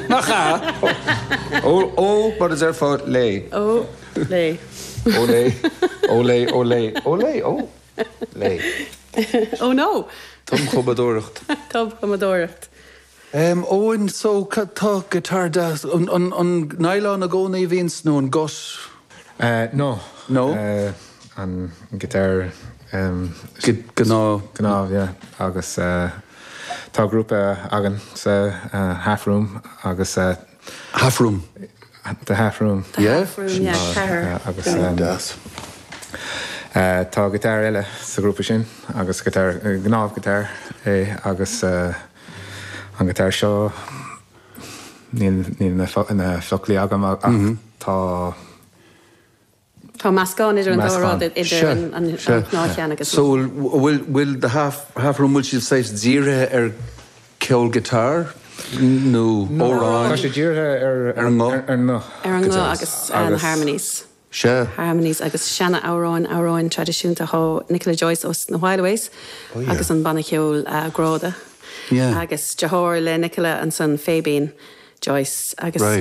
Nach ea? Ó, ó, mar a déarfá, lé. Ó, lé. Ó lé, ó lé, ó lé, ó lé, ó lé. Oh no! Tumchumadóireacht. Tumchumadóireacht. Eoin, so tá guitar deas, an, an, an nylon i gcónaí a bhíonns nó an gut? No. No? An guitar. Gnáth. Gnáth, yeah. Agus tá grúpa againn sa Half Room agus. Half Room? The Half Room. The Half Room, yeah, ceathrar. Agus Deas. tá guitar eile sa ghrúpa sin agus guitar, gnáth guitar é agus an guitar seo níl na foclaí agam ach tá. Tá meascán idir an dá rud, idir an gnáthcheann agus. So bhfuil bhfuil the half half room bhfuil siad saghas dírithe ar ceol guitar nó amhráin? Tá sé dírithe ar ar an nguth. Ar an nguth. Ar an nguth agus na harmonies. Sea. Harmonies agus seana amhráin, amhráin traidisiúnta. Tá Nicola Joyce ós na Whileaways agus an banna ceoil Gráda. Yeah. Agus deartháir le Nicola ansan Fabian Joyce agus. Right.